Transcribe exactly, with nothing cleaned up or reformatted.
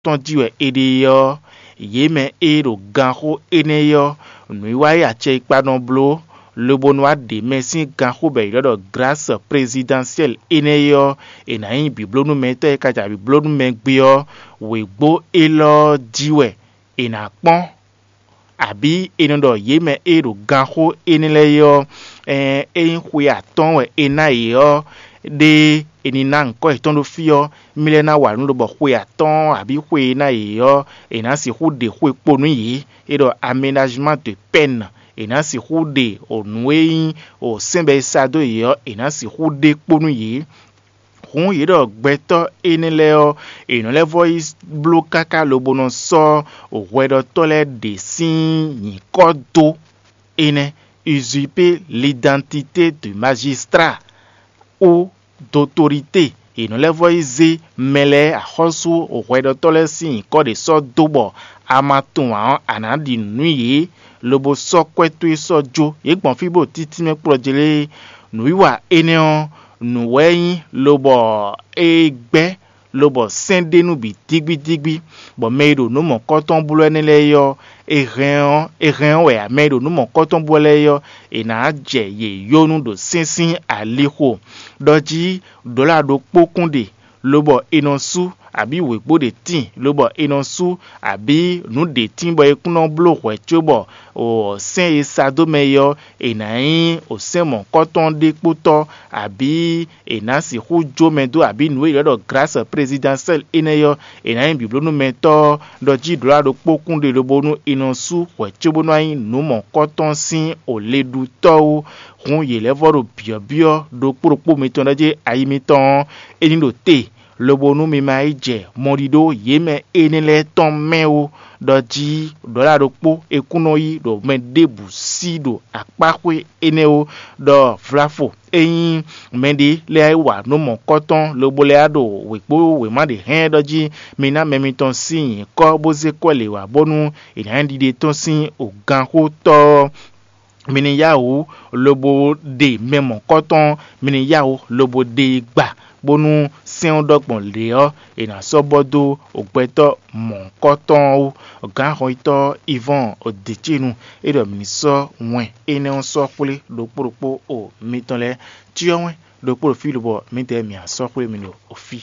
tɔn jí wɛ è ɖe é ɔ́, yě mɛ e ɖo ganxó énɛ́ é ɔ́, nǔwiwa e acɛkpa nɔ bló, lobo nɔ wá ɖe mɛ sín ganxó bɔ è ylɔ́ ɖɔ Glǎs Prezidánsiɛ́li énɛ́ é ɔ́, è nǎ nyí bǐblónúmɛtɔ́ e ka ja bǐblónúmɛ gbé ɔ́, wěgbó élɔ́ jí wɛ è nǎ kpɔ́n. Abǐ è nɔ ɖɔ yě mɛ e ɖo ganxó énɛ́ lɛ́ɛ é ɔ́, ényí xwe atɔ́ɔ́n wɛ è ná yě ɔ́, ɖé è ní ná nyǐkɔ yětɔn ɖó fí ɔ́, mì lɛ́ ná wa nǔ lobɔ xwe atɔ́ɔ́n abǐ xwe e ná yě ɔ́, è nǎ sixú ɖe xwe kpo nú yě. É ɖɔ aménajman de pɛ́n, è nǎ sixú ɖe nǔ e nyí sɛ́n bɔ è sa dó yě ɔ́, è nǎ sixú ɖe kpo nú yě. Hǔn yě ɖɔ gbɛtɔ́ énɛ́ lɛ́ɛ ɔ́, è nɔ lɛ́ vɔ́ yi bló káká lobo nɔ sɔ́ hwɛɖɔtɔ́ lɛ́ɛ ɖě sín nyǐkɔ dó. Énɛ́, usurper l'identité du magistrat ou d'autorité. È nɔ lɛ́ vɔ́ yi zé mɛ lɛ́ɛ axɔ́sú hwɛɖɔtɔ́ lɛ́ɛ sín nyǐkɔ ɖě sɔ́ dó bɔ a ma tunwun ǎ ɔ́, a nǎ ɖi nǔ nú yě, lobo sɔ́ kwɛ́ towe sɔ́ jó. Yě gbɔn fí bó títí mɛ kplɔ́ jlé. Nǔwiwa énɛ́ ɔ́, nǔ wɛ é nyí, lobɔ é gbɛ́, lobɔ sɛ́n ɖ'é nu bǐ dígbídígbí, bɔ mɛ e ɖo nǔ mɔ̌kɔ́tɔn bló ɛnɛ́ lɛ́ɛ é ɔ́, è hɛn ɔ́, è hɛn ɔ́ wɛ ǎ. Mɛ e ɖo nǔ mɔ̌kɔ́tɔn bló lɛ́ɛ é ɔ́, è nǎ jɛ yě yó nú ɖo sɛ́n sín alixo. Ɖɔ jí ɖɔ̌la ɖokpó kún ɖe, lobɔ è nɔ sú, abǐ wěgbó ɖě tíin, lobɔ è nɔ sú, abǐ nǔ ɖě tíin bɔ è kún nɔ bló hwɛ̌ cóbɔ sɛ́n e sa dó mɛ é ɔ́, è nǎ nyí sɛ́n mɔ̌kɔ́tɔn ɖé kpótɔ́, abǐ è nǎ sixú jó mɛ dó, abǐ nǔ e è ylɔ́ ɖɔ glǎs prezidɛnsɛ́l énɛ́ ɔ́, è nǎ nyí bǐblónúmɛtɔ́ ɔ́, ɖɔ jí ɖǒla ɖokpó kún ɖe lobo nú è nɔ sú hwɛ̌ cóbó nɔ nyí nǔ mɔ̌kɔ́tɔn sín o leɖútɔ́ ó. Hǔn yě lɛ́ vɔ́ ɖo byɔ̌byɔ́ ɖokpó ɖokpó mitɔn ɖɔ jí ayi mitɔn ɔ́, é ní ɖo te, lobo nú mi ma yi jɛ mɔɖiɖó yě mɛ énɛ́ lɛ́ɛ tɔn mɛ ó, ɖɔ jí ɖɔ̌la ɖokpó é kún nɔ yí ɖo mɛ ɖěbǔ sí ɖo akpáxwé énɛ́ ó, ɖɔ vlafo ényí mɛɖé lɛ́ɛ wa nǔ mɔ̌kɔ́tɔn lobo lɛ́ɛ ɖo wěkpó wěma ɖě hɛn ɖɔ jí mi ná mɛ mitɔn sín nyǐkɔ bó zé kɔ́ lě wá bónú è nǎ nyí ɖiɖe tɔn sín òganxótɔ́ ɔ́, mi ní yá wǔ lobo ɖe mɛ mɔ̌kɔ́tɔn, mi ní yá wǔ lobo ɖe e gba, bónú sɛ́n ɔ́ ɖɔ gbɔn lě ɔ́, è nǎ sɔ́ bɔ dó gbɛtɔ́ mɔ̌kɔ́tɔn ɔ́ wú. Gǎnhɔnyitɔ́ Ivɔ́n Odecínu é ɖɔ mǐ ní sɔ́ wɛn énɛ́ ɔ́ sɔ́ xwlé ɖokpó ɖokpó o mitɔn lɛ́ɛ. Cyɔ́ wɛn ɖokpó ɖo fí lobɔ mǐdɛɛ mǐ á sɔ́ xwlé mi ɖo fí.